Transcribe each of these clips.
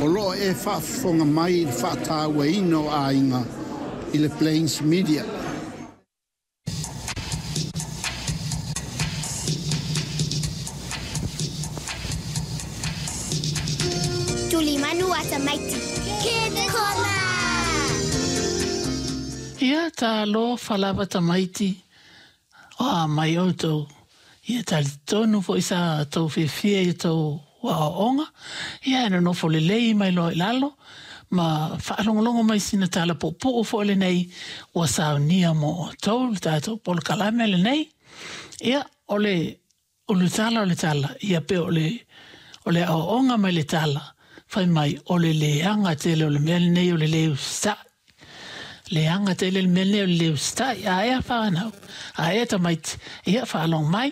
O lo o e faafofoga mai i le faatauaina o aiga i le Plains Media. Tulimanu a tamaiti. Kids Corner! Ia talofa lava tamaiti, o a mai outou. Ia talitonu foi sa tou fiafia i outou aoaoga, ia e nonofo lelei mai loa i lalo, ma faalogologo mai i sina tala puupuu foi lenei ua saunia mo outou le tatou polokalame lenei. Ia, o le ulutala o le tala, ia pe o le, o le aoaoga mai le tala, fai mai, o le leaga tele o le mea lenei o le le usitai. Leaga tele le mea lenei o le le usitai. A ea fanau, a ea tamaiti, ia faalogo mai.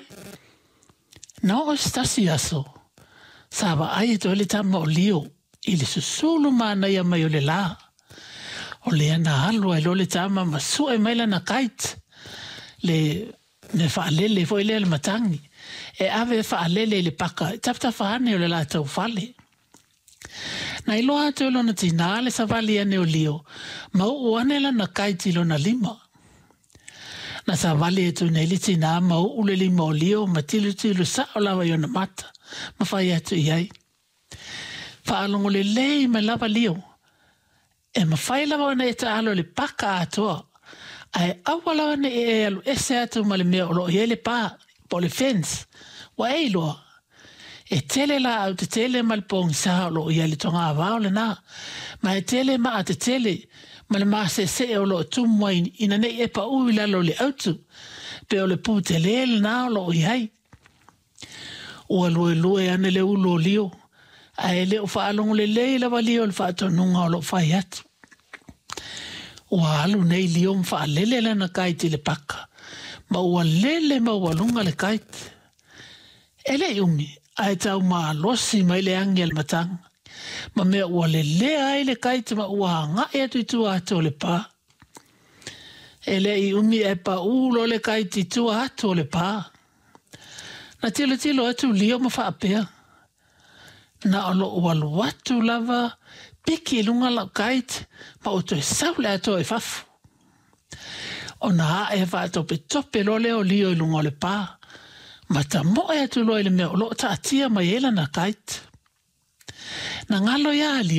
Na oo i se tasi aso, sa vaai atu ai le tama o Lio i le susulu manaia mai o le lā. O lea na alu ai loa le tama ma sue mai lana kite, le mea faalele foi lea le matagi, e ave e faalele i le paka i tafatafa ane o le latou fale. Na iloa atu e lona tinā le savali ane o Lio ma uu ane lana kite i lona lima. Na savali atu nei le tinā ma uu le lima o Lio ma tilotilo sao lava i ona mata ma fai atu i ai. Faalogo lelei mai lava Lio, e mafai lava ona e taalo i le paka atoa, ae aua lava ne i e alu ese atu ma le mea o lo o i ai le pa, po o le fence, ua e iloa. E tele laau tetele ma le pogisa o lo o i ai le togavao lena, ma e tele maa tetele ma le maseesee o lo o tumu ai ina ne i e pau i lalo o le autu, pe o le pu tele lena o lo o i ai. Ua luelue ane le ulu o Lio, ae le o faalogo lelei lava Lio i le faatonuga o lo o fai atu. Ua alu nei Lio ma faalele lana kite i le paka, ma ua lele maualuga le kite. E le i umi, ae tau malosi mai le agi a le mataga, ma mea ua lelea ai le kite ma ua agai atu i tua atu o le pa. E le i umi ae paū loa le kite i tua atu o le pa. Na tilotilo atu Lio ma faapea, Na o lou alu atu lava, piki i luga lau kite ma ou toe sau le atoa i fafo. Ona ae faatopetope loa lea o Lio i luga o le pa, ma tamoe atu loa i le mea o lo o taatia mai ai lana kite. Na galo ia Lio.